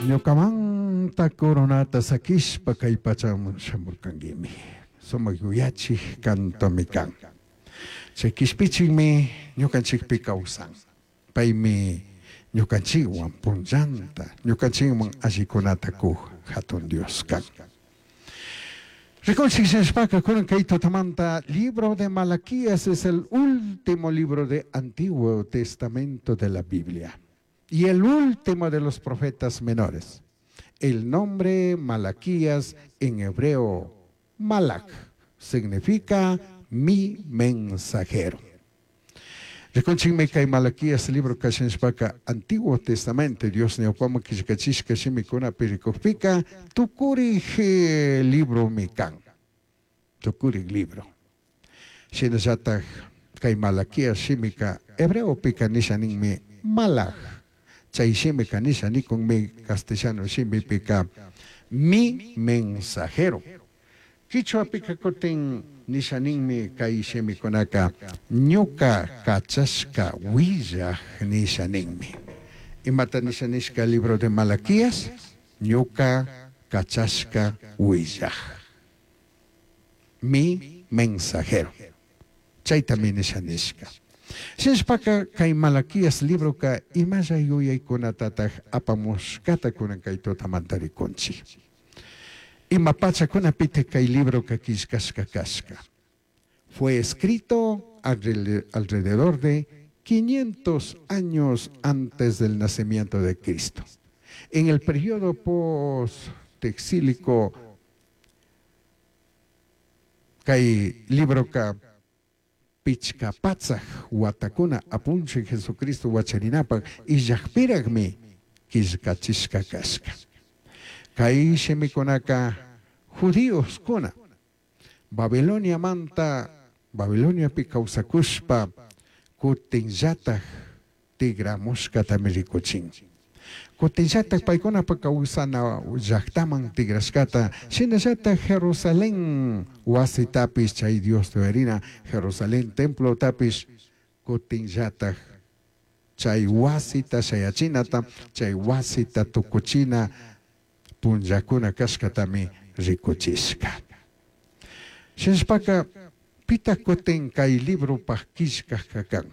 Ñukamanta coronata sakishpa kay pachaman shamurkanguimi. Sumak yuyachik cantomi kan. Chay kishpichikmi ñukanchikpi kawsan. Paymi ñukanchikwan punllanta, ñukanchikman allikunata kuq hatun Dios kan. Rikunchik shinashpaka kunan kay tutamanta, libro de Malaquías es el último libro de Antiguo Testamento de la Biblia y el último de los profetas menores. El nombre Malaquías, en hebreo Malak, significa "mi mensajero". Rikunchikmi kay Malaquías libro kashanshpaka Antiguo Testamento Dios ñawpaman killkachishka shimikunapi rikukpika tukurik libromi kan. Tukurik libro. Shinallatak kay Malaquías shimika hebreopika nisha ninmi Malak. Chay shimika nisha nikunmi castellano shimipika "mi mensajero". Quichuapika kutin nisha ninmi kay shimikunaka "ñuka kachashka willaj" nisha ninmi. Imata nisha nishka libro de Malaquías? Ñuka kachashka willaj. Mi mensajero. Chaytami nisha nishka. Shinashpaka kay Malaquías libroka imalla yuyaykunatataq apamushkata kunan kay tutamanta rikunchik. Ima pachakunapitaq kay libroka killkashka kashka? Fue escrito alrededor de 500 años antes del nacimiento de Cristo. En el periodo post-exílico, kay libroka 500 watakuna apunchik Jesucristo wacharinapaq illaqpiraqmi killkachishka kashka. Kay shimikunaka judíoskuna Babiloniamanta, Babiloniapi kawsakushpa kutinllatak tigramushkatami rikuchin. Kutinllatak paykunapa kawsana llaqtaman tigrashkata, shinallatak Jerusalén wasitapish, chay Dios tuyarina Jerusalén templotapish kutinllatak chay wasita shayachinata, chay wasita tukuchina punllakuna kashkatami rikuchishka. Shinashpaka pitaq kutin kay libropaq killkajka kan?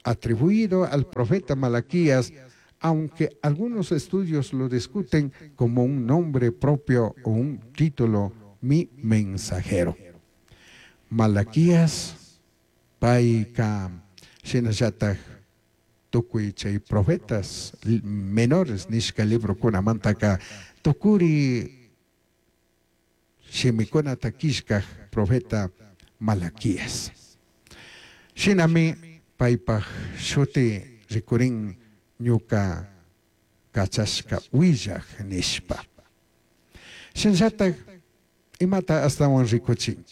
Atribuido al profeta Malaquías, aunque algunos estudios lo discuten como un nombre propio o un título, "mi mensajero". Malaquías, payka shinallatak tukuy chay profetas menores nishka librokunamantaka tukuri shimikunata killkaj profeta Malaquías. Shinami paypaj shuti rikurin "ñuka kachashka willaj" nishpa. Shinallatak imata astawan rikuchin?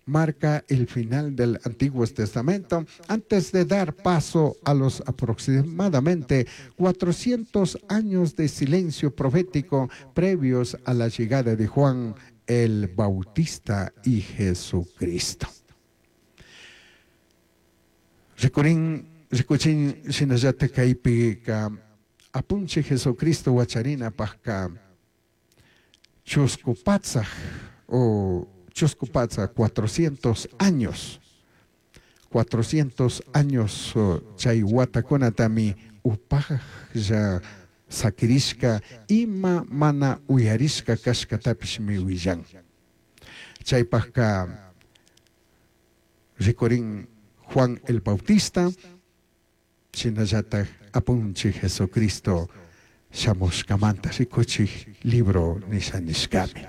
Marca el final del Antiguo Testamento antes de dar paso a los aproximadamente 400 años de silencio profético previos a la llegada de Juan el Bautista y Jesucristo. Rikurin, rikuchin shinallatak kaypika apunchik Jesucristo wacharinapajka 400 o chusku patsak 400 años, 400 años chay watakunatami upajlla sakirishka, ima mana uyarishka kashkatapishmi willan. Chaypajka rikurin Juan el Bautista shinallatak apunchik Jesucristo shamushkamanta rikuchik libro nisha nishkami.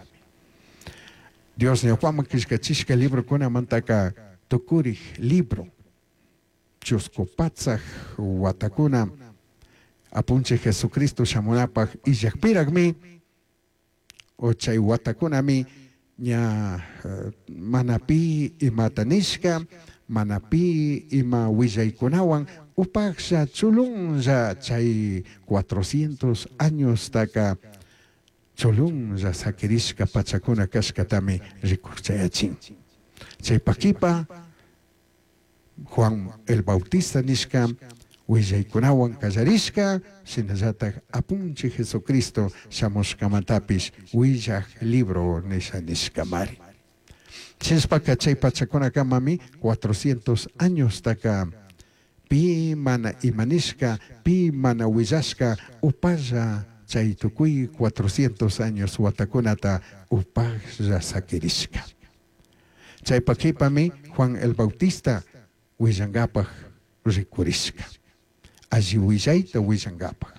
Dios ñawpaman killkachishka librokunamantaka tukurik libro, 400 watakuna apunchik Jesucristo shamunapaj illaqpiraqmi o chay watakunami ña mana pi imata nishka, mana pi ima willaykunawan upajlla chulunlla chay 400 años taka chulunlla sakirishka pachakuna kashkatami rikuchayachin. Chaypakipa Juan el Bautista nishka Huillaicunahuan callarishca, shinallataj Apunchij Jesucristo shamushcamantapish huillaj libro nisha nishcamari. Shinashpaca chai pachacunacamami 400 añostaca pi mana ima nishca, pi mana huillashca upalla chai tucui 400 años huatacunata upajlla saquirishca. Chaipa q'uipami Juan el Bautista huillangapaj ricurishca. Alli huillaita huillangapaj.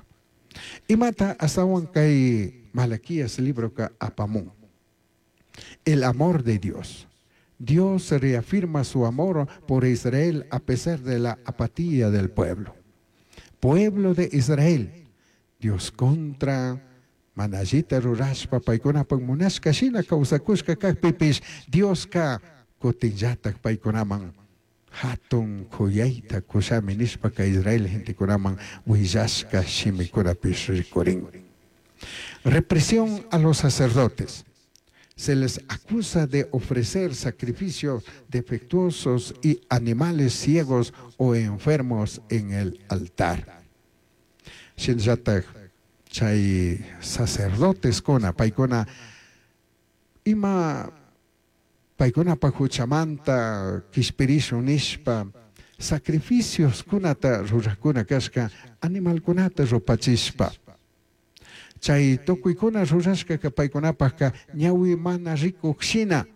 Imata ashtahuan cai Malaquías libroca apamun? El amor de Dios. Dios reafirma su amor por Israel a pesar de la apatía del pueblo. Pueblo de Israel, Dios contra mana allita rurashpa paicunapaj munashca shina causacushca cajpipish Diosca cutinllataj paicunaman jatun c'uyaita cushami nishpaca Israel gentecunaman huillashca shimicunapish ricurin. Represión a los sacerdotes. Se les acusa de ofrecer sacrificios defectuosos y animales ciegos o enfermos en el altar. Shinallataj chay sacerdotescuna paicuna ima paicunapaj juchamanta quishpirishun nishpa sacrificioscunata rurajcuna cashca animalcunata rupachishpa. Chay tucuicuna rurashcaca paicunapajca ñahui mana ricuj shina,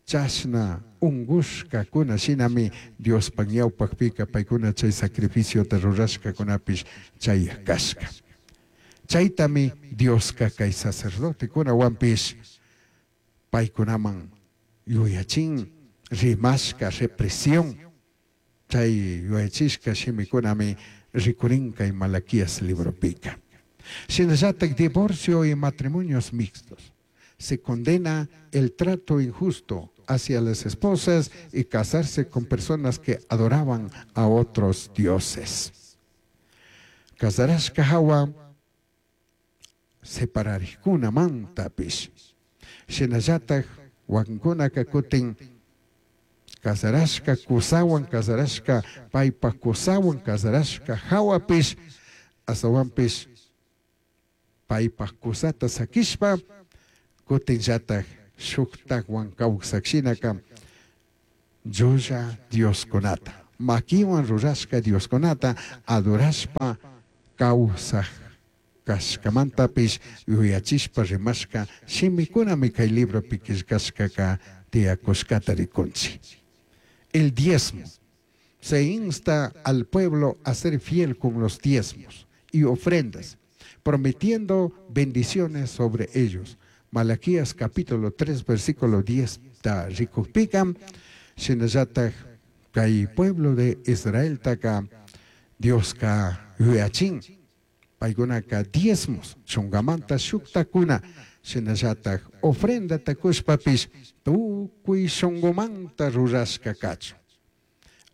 chashna ungushcacuna shinami Diospaj ñaupajpica paicuna chay sacrificiota rurashcacunapish chayaj cashca. Chaitami Diosca cay sacerdotecunahuanpish paicunaman yuyachin rimashca represión. Chay yuyachishca shimicunami ricurin cay Malaquías libropica. Shinallataj divorcio y matrimonios mixtos. Se condena el trato injusto hacia las esposas y casarse con personas que adoraban a otros dioses. Cazarashca jahua separarijcunamantapish. Shinallataj huaquincunaca cutin cazarashca cusahuan cazarashca paipaj cusahuan cazarashca jahuapish ashtahuanpish paipaj cusata saquishpa cutinllataj shujtajhuan causaj shinaca llulla dioscunata, maquihuan rurashca dioscunata adorashpa causaj cashcamantapish yuyachishpa rimashca shimicunami cai libropi quillcashcaca tiyacushcata ricunchij. El diezmo. Se insta al pueblo a ser fiel con los diezmos y ofrendas, prometiendo bendiciones sobre ellos. Malaquías capítulo 3, versículo 10 ta ricujpica, shinallataj cai pueblo de Israeltaca Diosca yuyachin, paicunaca diezmos, chungamanta shujtacuna, shinallataj ofrendata cushpapish tucui shungumanta rurashca cachun.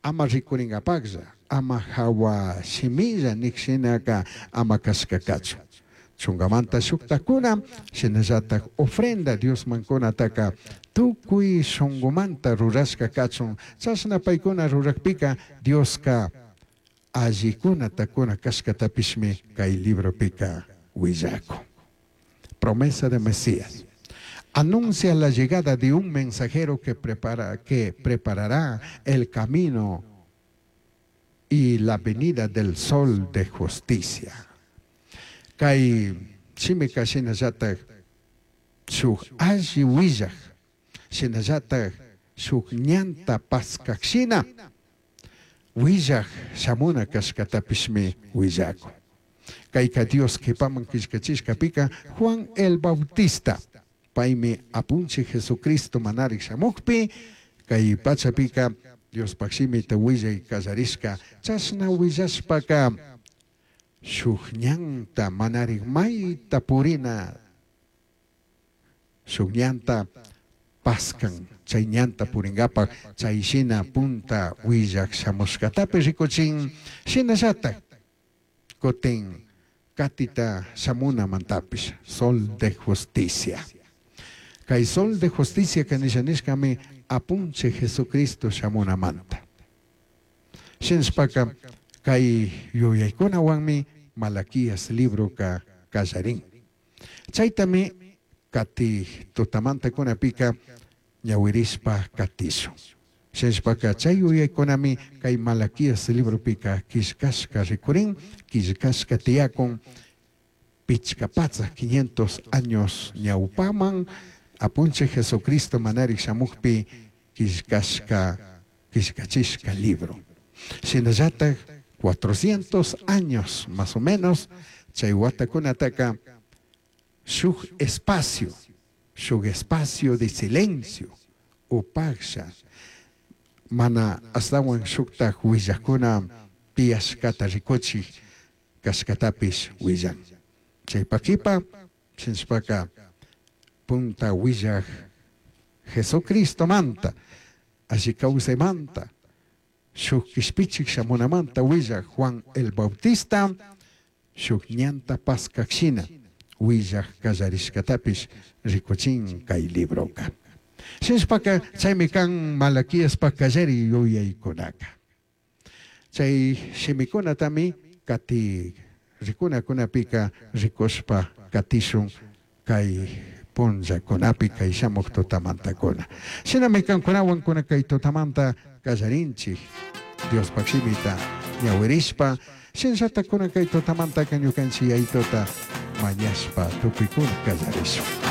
Ama ricuringapajlla, ama jahua shimilla nij shinaca ama cashca cachun. Chungamanta shujtacuna, shinallataj ofrenda Diosman cunataca tucui shungumanta rurashca cachun. Chashna paicuna rurajpica Diosca allicunata cuna cashcatapishmi cai libropica huillacun. Promesa de Mesías. Anuncia la llegada de un mensajero que preparará el camino y la venida del sol de justicia. Cai shimica shinallataj shuj alli huillaj, shinallataj shuj ñanta pascaj shina huillaj shamuna cashcatapishmi huillacun. Caica Dios q'uipaman quillcachishcapica Juan el Bautista, paimi Apunchij Jesucristo manarij shamujpi, cai pachapica Diospaj shimita huillai callarishca, chashna huillashpaca shuj ñanta manarij maita purina, shuj ñanta pascan, chay ñanta puringapaj, chay shina punta huillaj shamushcatapi ricuchin, shinallataj cutin catita shamunamantapish, sol de justicia. Cay sol de justicia que nisha nishcami apunchij Jesucristo shamunamanta. Shinashpaca Kay yuyaykunawanmi Malaquías libroka kallarin. Chaytami kati tutamantakunapika ñawirishpa katishun. Shinashpaka chay yuyaykunami kay Malaquías libropika killkashka rikurin, killkashka tiyakun pichka patsak 500 años ñawpaman Apunchik Jesucristo manarik shamukpi killkashka killkachishka libro. Shinallatak 400 años más o menos chay watakunataka shuk espacio, shuk espacio de silencio upaksha mana ashtawan shuktak willakuna tiyashkata rikuchik kashkatapish willan. Chaypakipa shinashpaka punta willak Jesucristomanta alli kawsaymanta shuk kishpichik shamunamanta willak Juan el Bautista shuk ñanta paskak shina willak kallarishkatapish rikuchin kay libroka. Shinashpaka chaymi kan Malaquiaspa kallari yuyaykunaka. Chay shimikunatami kati rikunakunapika rikushpa katishun kay punllakunapi kay shamuk tutamantakuna. Shinami kankunawan kuna kay tutamanta kallarinchik Diospaq shimita ñawirishpa shinallata kuna kay tutamantaka ñukanchik yayituta mañashpa tukuykuna kallarishun.